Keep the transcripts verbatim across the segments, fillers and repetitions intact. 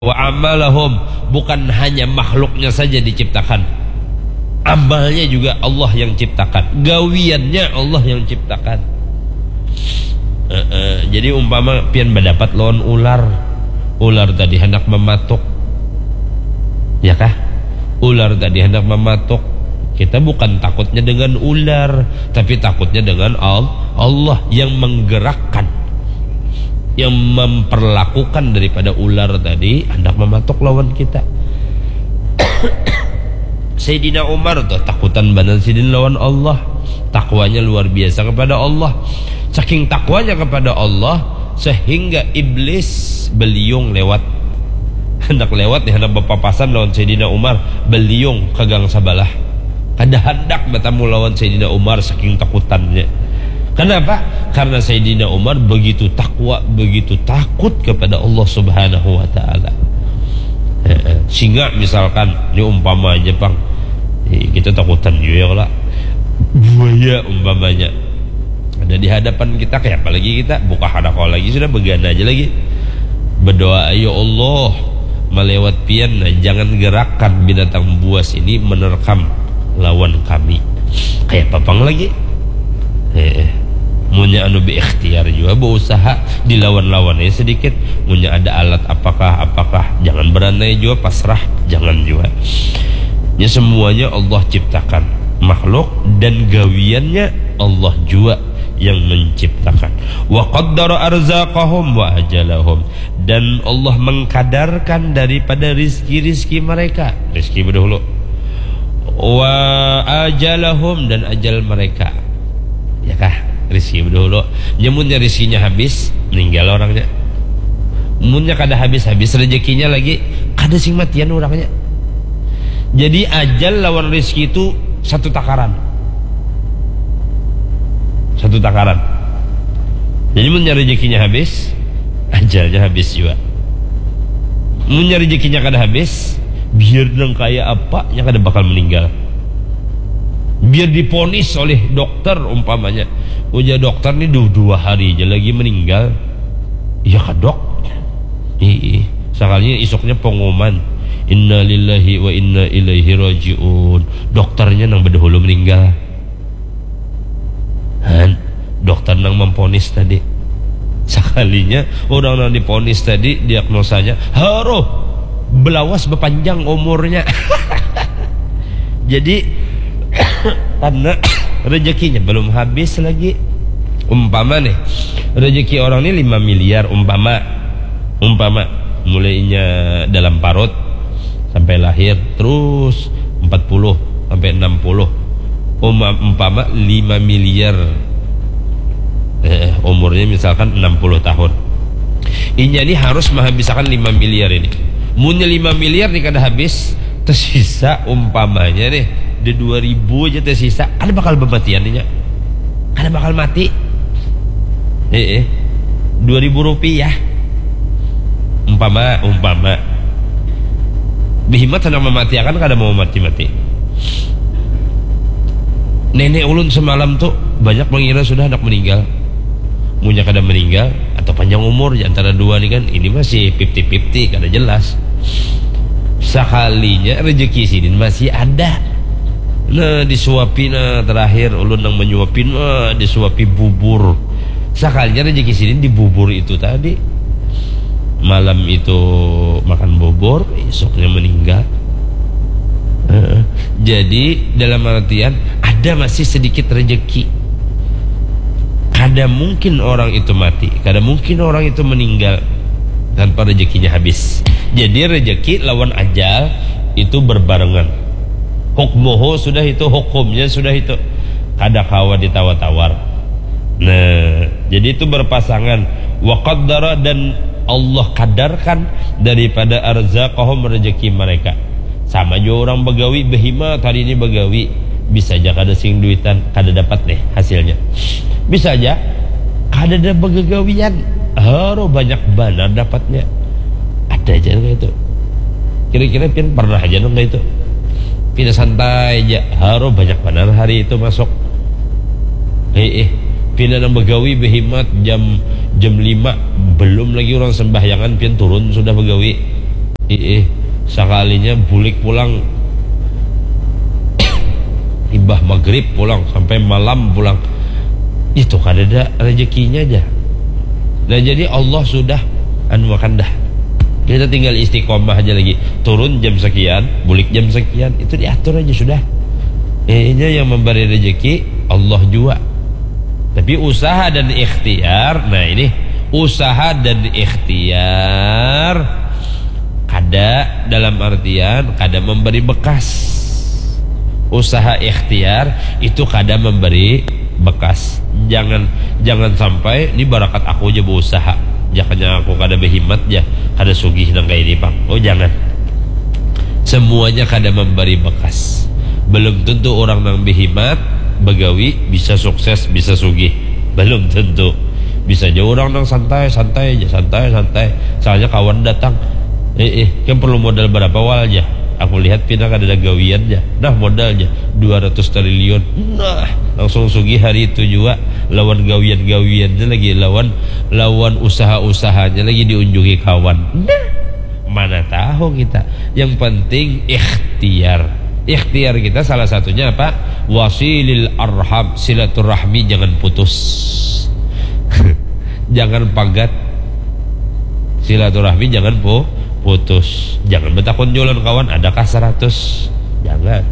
Wa amalahum, bukan hanya makhluknya saja diciptakan, amalnya juga Allah yang ciptakan, gawiannya Allah yang ciptakan. Eh, eh, jadi umpama pian badapat lawan ular, ular tadi hendak mematuk, ya kah? Ular tadi hendak mematuk, kita bukan takutnya dengan ular, tapi takutnya dengan Al- Allah yang menggerakkan, yang memperlakukan daripada ular tadi hendak mematuk lawan kita. Sayyidina Umar tuh takutan banar sidin lawan Allah. Takwanya luar biasa kepada Allah. Saking takwanya kepada Allah, sehingga iblis beliung lewat. Hendak lewat nih, hendak berpapasan lawan Sayyidina Umar, beliung ke gang sabalah. Kada hendak bertemu lawan Sayyidina Umar saking takutannya. Kenapa? Karena Sayyidina Umar begitu takwa, begitu takut kepada Allah Subhanahu wa Ta'ala. Heeh. Singa misalkan, ini umpama aja, pang. Eh, kita takutan juga ya, kala. Buaya umpamanya. Ada di hadapan kita, kayak apa lagi kita? Buka hadako lagi, sudah begana aja lagi. Berdoa, "Ya Allah, melewat pian, nah, jangan gerakkan binatang buas ini menerkam lawan kami." Kayak apa pang lagi? Eh, eh. Munnya anu berikhtiar juga, berusaha dilawan-lawan aja sedikit. Munnya ada alat apakah, apakah, jangan beranai juga, pasrah, jangan juga. Ya, semuanya Allah ciptakan makhluk dan gawiannya Allah juga yang menciptakan. Wa qaddara arzaqahum wa ajalahum, dan Allah mengkadarkan daripada rizki-rizki mereka, rizki berdahulu, wa ajalahum, dan ajal mereka, ya kah? Rizki berdahulu. Nyamunnya rizkinya habis, meninggal orangnya. Munnya kada habis-habis rezekinya lagi, kada sing matian orangnya. Jadi ajal lawan rizki itu satu takaran. Satu takaran. Jadi mun nyari rezekinya habis, ajalnya habis juga. Mun nyari rezekinya kada habis, biar nang kaya apa, nya kada bakal meninggal. Biar diponis oleh dokter umpamanya, ujar dokter ni du- dua hari aja lagi meninggal. Ya kadok. Ih, sekalinya isuknya pengumuman, "Innalillahi wa inna ilaihi rajiun." Dokternya nang berdahulu meninggal. Han, dokter nang memponis tadi. Sekalinya orang nang diponis tadi, diagnosanya, haruh, belawas bepanjang umurnya. Jadi karena rezekinya belum habis lagi. Umpama nih, rezeki orang ini lima miliar umpama. Umpama mulainya dalam parut sampai lahir, terus empat puluh sampai enam puluh. Uma- umpama lima miliar, eh, umurnya misalkan enam puluh tahun. Inya ni harus menghabisakan lima miliar ini. Munnya lima miliar ni kada habis, tersisa umpamanya nih, di dua ribu aja tersisa, kada bakal bematian inya. Kada bakal mati. Eh, eh. Dua ribu rupiah. Umpama, umpama. Behimat hendak mematiakan, kada mau mati-mati. Nenek ulun semalam tu banyak mengira sudah hendak meninggal. Munnya kada meninggal atau panjang umur, di antara dua ni kan, ini masih fifty fifty, kada jelas. Sakalinya rezeki sidin masih ada. Nah, disuapi, nah, terakhir ulun nang menyuapi, nah, disuapi bubur. Sakalinya rezeki sidin di bubur itu tadi. Malam itu makan bubur, esoknya meninggal. Heeh. Jadi dalam artian ada masih sedikit rezeki. Kada mungkin orang itu mati, kada mungkin orang itu meninggal tanpa rezekinya habis. Jadi rezeki lawan ajal itu berbarengan. Hukmuhu sudah itu, hukumnya sudah itu. Kada kawa ditawar-tawar. Nah, jadi itu berpasangan. Wa qaddara, dan Allah kadarkan daripada arzaqahum, rezeki mereka. Sama jua orang bagawi, behimat hari ini bagawi, bisa aja kada sing duitan, kada dapat nih hasilnya. Bisa aja kada ada begagawian, haro banyak banar dapatnya. Ada aja nang kaya itu. Kira-kira pian pernah aja nang kaya itu? Pina santai aja, haro banyak banar hari itu masuk. Eh, eh, pina nang begawi behimat jam jam lima, belum lagi orang sembahyangan pian turun sudah begawi. Iih, sakalinya bulik pulang imbah magrib pulang sampai malam pulang, itu kadada rezekinya aja. Nah, jadi Allah sudah anuakan dah. Kita tinggal istiqomah aja lagi. Turun jam sekian, bulik jam sekian, itu diatur aja sudah. Inya yang memberi rezeki Allah jua. Tapi usaha dan ikhtiar, nah ini, usaha dan ikhtiar kada, dalam artian kada memberi bekas. Usaha ikhtiar itu kada memberi bekas. Jangan, jangan sampai ini barakat aku aja berusaha. Jakanya aku kada behimat ja, kada sugih nang kaya ini pang. Oh, jangan. Semuanya kada memberi bekas. Belum tentu orang nang behimat, begawi, bisa sukses, bisa sugih. Belum tentu. Bisa aja orang nang santai, santai aja, santai, santai. Soalnya kawan datang. Eh, eh, kan perlu modal berapa wal aja? Aku lihat pina kada ada gawian aja. Nah, modal aja dua ratus triliun. Nah, langsung sugih hari itu juga lawan gawian-gawiannya lagi, lawan lawan usaha-usahanya lagi diunjuki kawan. Nah, mana tahu kita. Yang penting ikhtiar. Ikhtiar kita salah satunya apa? Wasilil arham, silaturahmi jangan putus. Jangan pagat. Silaturahmi jangan pu-, putus. Jangan betakun jualan kawan, adakah seratus? Jangan.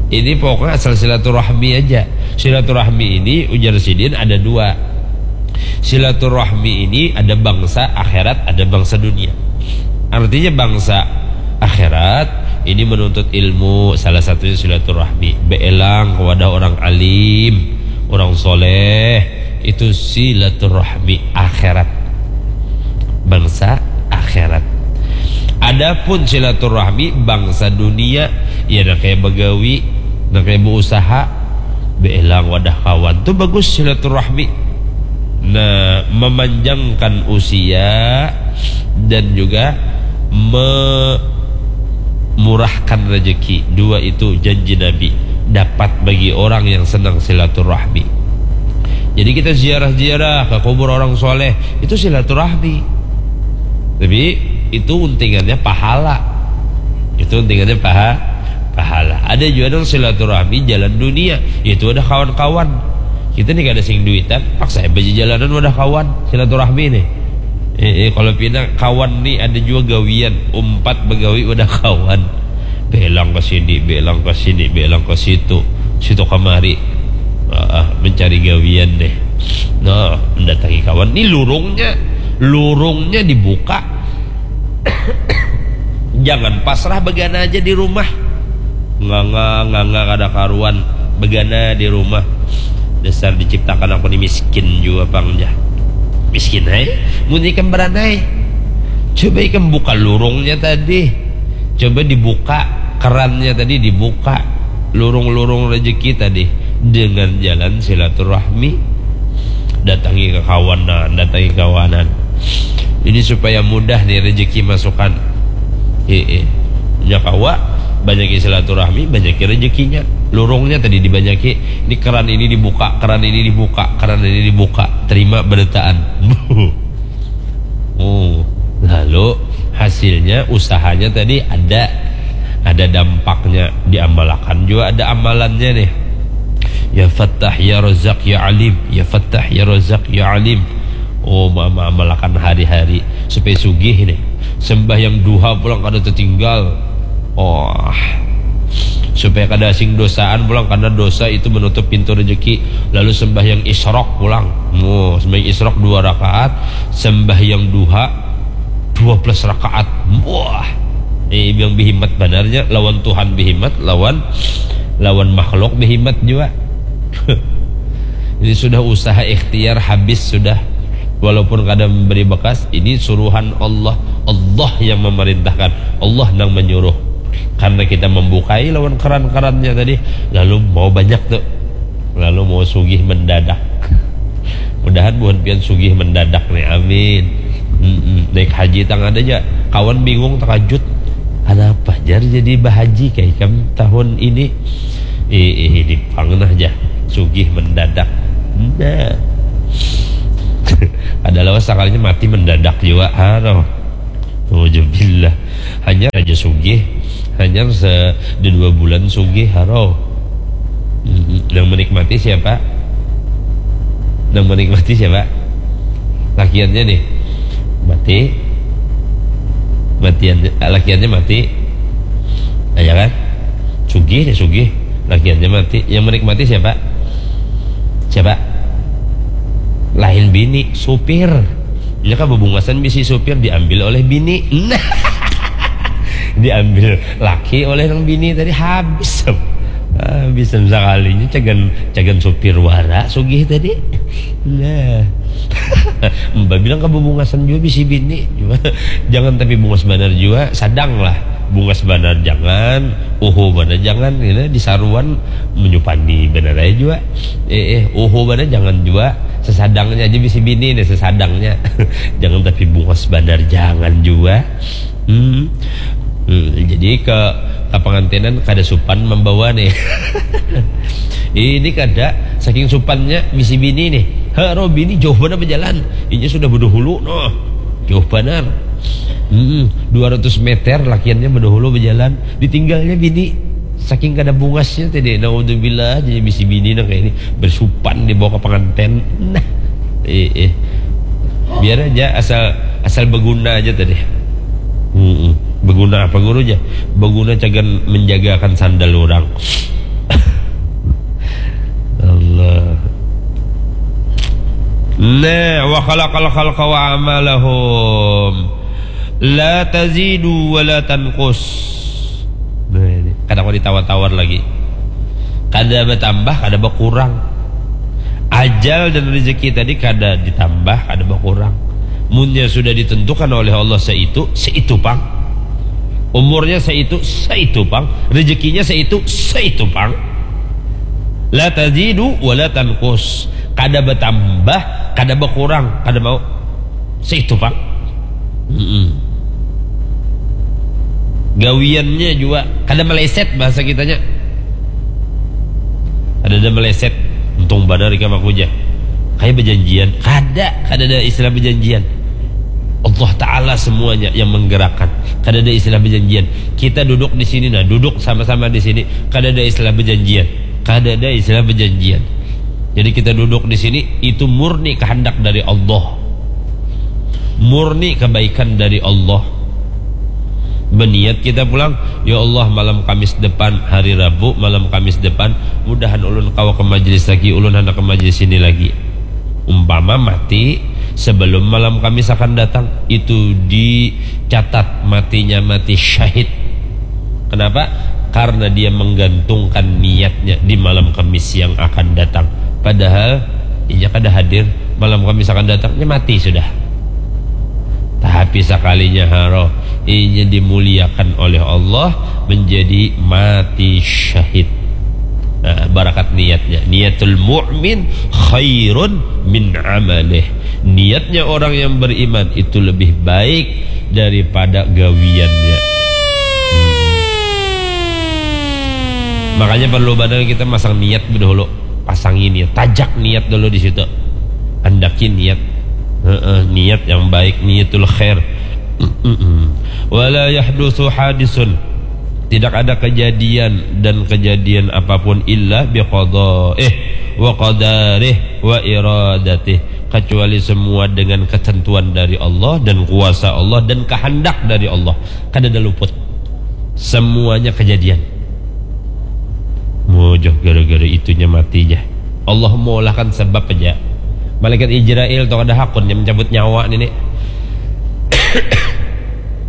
Ini pokoknya asal silaturahmi aja. Silaturahmi ini ujar sidin ada dua. Silaturahmi ini ada bangsa akhirat, ada bangsa dunia. Artinya bangsa akhirat ini menuntut ilmu, salah satunya silaturahmi. Beelang kepada orang alim, orang soleh, itu silaturahmi akhirat. Bangsa akhirat. Adapun silaturahmi bangsa dunia, ya nang kayak begawi, nang kayak berusaha, beelang wadah kawan. Tuh bagus silaturahmi. Nah, memanjangkan usia dan juga memurahkan rezeki. Dua itu janji Nabi dapat bagi orang yang senang silaturahmi. Jadi kita ziarah-ziarah ke kubur orang soleh, itu silaturahmi. Tapi itu untingannya pahala. Itu untingannya paha, pahala. Ada juga nang silaturahmi jalan dunia, yaitu ada kawan-kawan. Kita nih kada sing duitan, paksa aja jalanan wadah kawan, silaturahmi nih. Eh, eh, kalau pina kawan nih ada juga gawian, umpat begawi wadah kawan. Belang ke sini, belang ke sini, belang ke situ, situ kemari. Ah, ah, mencari gawian deh. Nah, mendatangi kawan. Nih lurungnya, lurungnya dibuka. Jangan pasrah begana aja di rumah. Nganga, nganga kada karuan. Begana di rumah. Dasar diciptakan aku ni miskin jua pang ja. Miskin ai. Mun ikam beranai. Coba ikam buka lurungnya tadi. Coba dibuka kerannya tadi, dibuka lurung-lurung rezeki tadi dengan jalan silaturahmi. Datangi kekawanan, datangi kawanan. Ini supaya mudah nih rezeki masukan. Heeh. Nya kawa, banyaki silaturahmi, banyaki rezekinya. Lurungnya tadi dibanyaki. Ini keran ini dibuka, keran ini dibuka, keran ini dibuka. Terima berataan. Oh, lalu hasilnya usahanya tadi ada, ada dampaknya, diamalakan juga ada amalannya nih. Ya Fattah, ya Razak, ya Alim, ya Fattah, ya Razak, ya Alim. Oh, ma-, ma-, amalakan hari-hari supaya sugih nih. Sembahyang duha pulang kada tertinggal. Oh, supaya kada asing dosaan pulang, karena dosa itu menutup pintu rezeki. Lalu sembahyang isrok pulang. Oh, sembahyang isrok dua rakaat, sembahyang duha dua belas rakaat. Wah, eh, yang bihimat banarnya lawan Tuhan bihimat, lawan, lawan makhluk bihimat juga. Ini sudah usaha ikhtiar habis sudah. Walaupun kada memberi bekas, ini suruhan Allah. Allah yang memerintahkan. Allah nang menyuruh. Karena kita membukai lawan keran-kerannya tadi, lalu mau banyak tuh. Lalu mau sugih mendadak. Mudahan buhan pian sugih mendadak nih. Amin. Mm-mm. Naik haji tang ada aja. Kawan bingung, terkejut. Kenapa jar jadi bahaji kayak ikam tahun ini? Eh, eh, ini pang nah aja. Sugih mendadak. Nah. Ada lawas sakalinya mati mendadak juga. Aduh. Nauzubillah. Hanya Sugih, hanyar se dua bulan sugih, haro. Nang menikmati siapa? Nang menikmati siapa? Lakiannya nih. Mati. Matiannya, lakiannya mati. Nah, ya kan? Sugih deh, sugih. Lakiannya mati. Yang menikmati siapa? Siapa? Lain bini, supir. Nya kan bebungasan bisi supir, diambil oleh bini. Nah. Diambil laki oleh nang bini tadi, habis. Habis sekalinya cagan, cagan supir wara sugih tadi. Nah. Mbak bilang ke bebungasan juga bisi bini. Jangan tapi bungas banar juga, sadang lah. Bungas banar jangan, uhu banar jangan, gitu, disaruan menyupani banar aja juga. Eh, eh, uhu banar jangan juga, sesadangnya aja bisi bini nih, sesadangnya. Jangan tapi bungas banar jangan juga. Hmm. Hmm, jadi ke ke pengantinan kada supan membawa nih. Ini kada, saking supannya bisi bini nih. Haro bini jauh banar berjalan. Inya sudah bedahulu noh. Jauh banar. Hmm, dua ratus meter lakiannya bedahulu berjalan. Ditinggalnya bini. Saking kada bungasnya tadi, naudzubillah, jadi bisi bini nang kayak ini bersupan dibawa ke pengantin. Nah. Eh, eh. Biar aja asal asal berguna aja tadi. Hmm, berguna apa guru aja? Berguna cagan menjagakan sandal orang. Allah. Nah, wa khalaqal khalqa wa amalahum. La tazidu wa la tanqus. Nah, ini. Kada mau ditawar-tawar lagi. Kada bertambah, kada berkurang. Ajal dan rezeki tadi kada ditambah, kada berkurang. Munnya sudah ditentukan oleh Allah seitu, seitu pang. Umurnya seitu, seitu pang. Rezekinya seitu, seitu pang. La tazidu wa la tanqus. Kada bertambah, kada berkurang, kada mau. Seitu pang. Mm-mm. Gawiannya juga kada meleset bahasa kitanya. Kada ada meleset. Untung banar ikam aku aja. Kayak berjanjian. Kada, kada ada istilah berjanjian. Allah Ta'ala semuanya yang menggerakkan. Kada ada istilah berjanjian. Kita duduk di sini, nah, duduk sama-sama di sini. Kada ada istilah berjanjian. Kada ada istilah berjanjian. Jadi kita duduk di sini, itu murni kehendak dari Allah. Murni kebaikan dari Allah. Berniat kita pulang, "Ya Allah, malam Kamis depan, hari Rabu, malam Kamis depan, mudahan ulun kawa ke majelis lagi, ulun handak ke majelis ini lagi." Umpama mati sebelum malam Kamis akan datang, itu dicatat matinya mati syahid. Kenapa? Karena dia menggantungkan niatnya di malam Kamis yang akan datang. Padahal inya kada hadir, malam Kamis akan datang, inya mati sudah. Tapi sekalinya haro, inya dimuliakan oleh Allah menjadi mati syahid. Nah, barakat niatnya. Niatul mu'min khairun min amalih. Niatnya orang yang beriman itu lebih baik daripada gawiannya. Makanya perlu banar kita masang niat dahulu. Pasangi niat, tajak niat dulu di situ. Andaki niat. Heeh, niat yang baik, niatul khair. Mm-mm. Wala yahdusu hadisun. Tidak ada kejadian dan kejadian apapun illa biqada, eh, wa qadarih wa iradatih, kecuali semua dengan ketentuan dari Allah dan kuasa Allah dan kehendak dari Allah. Kada ada luput. Semuanya kejadian. Mujuh gara-gara itunya mati ja. Allah mengolahkan sebab aja. Malaikat Israel tu kada hakun yang mencabut nyawa nini.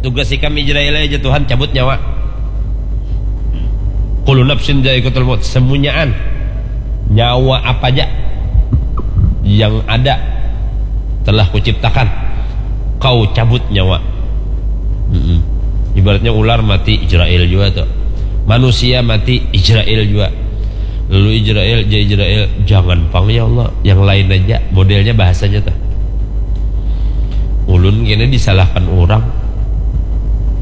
Tugas ikam Israel aja Tuhan cabut nyawa. Kullu nafsin dzaiqatul maut. Semunyaan nyawa apa aja yang ada telah kuciptakan, kau cabut nyawa. Mm-mm. Ibaratnya ular mati, Israel juga tuh. Manusia mati, Israel juga. Lalu Israel, ja Israel, jangan pang ya Allah, yang lain aja. Modelnya bahasanya tuh. Ulun kena disalahkan orang.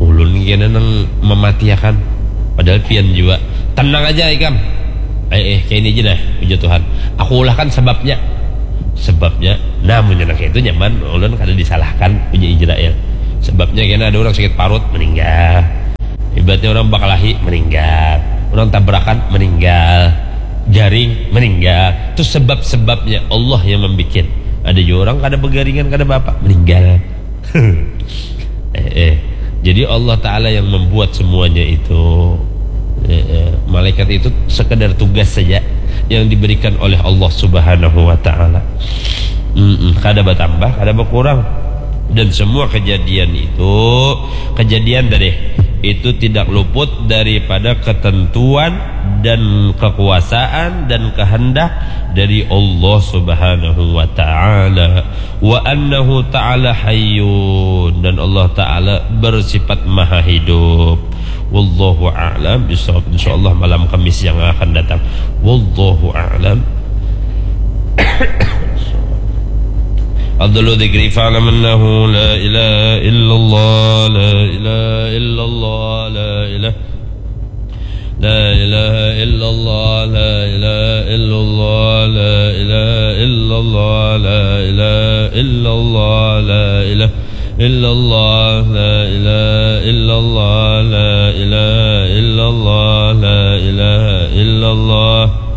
Ulun kena nang mematiakan. Padahal pian juga. Tenang aja ikam. Eh, eh, kayak ini aja nah, puji Tuhan. Aku ulahkan sebabnya. Sebabnya, namunnya nang kayak itu nyaman, ulun kada disalahkan, puji Israel. Sebabnya kena ada orang sakit parut, meninggal. Orang bakalahi meninggal, orang tabrakan meninggal, garing meninggal. Itu sebab-sebabnya Allah yang membuat. Ada juga orang kada begaringan, kada apa-apa, meninggal. eh, eh. Jadi Allah Ta'ala yang membuat semuanya itu. Eh, eh. Malaikat itu sekedar tugas saja yang diberikan oleh Allah Subhanahu wa Ta'ala. Mm-mm. Kada bertambah, kada berkurang. Dan semua kejadian itu, kejadian tadi itu tidak luput daripada ketentuan dan kekuasaan dan kehendak dari Allah Subhanahu wa Ta'ala. Wa annahu ta'ala hayyun, dan Allah Ta'ala bersifat maha hidup. Wallahu a'lam bishawab. Insyaallah malam Kamis yang akan datang. Wallahu a'lam. Afdalu dzikri fa'lam annahu la ilaha illallah, la ilaha illallah, la ilaha. La ilaha illallah, la ilaha illallah, la ilaha illallah, la ilaha illallah, la ilaha illallah, la ilaha illallah, la ilaha illallah, la ilaha illallah.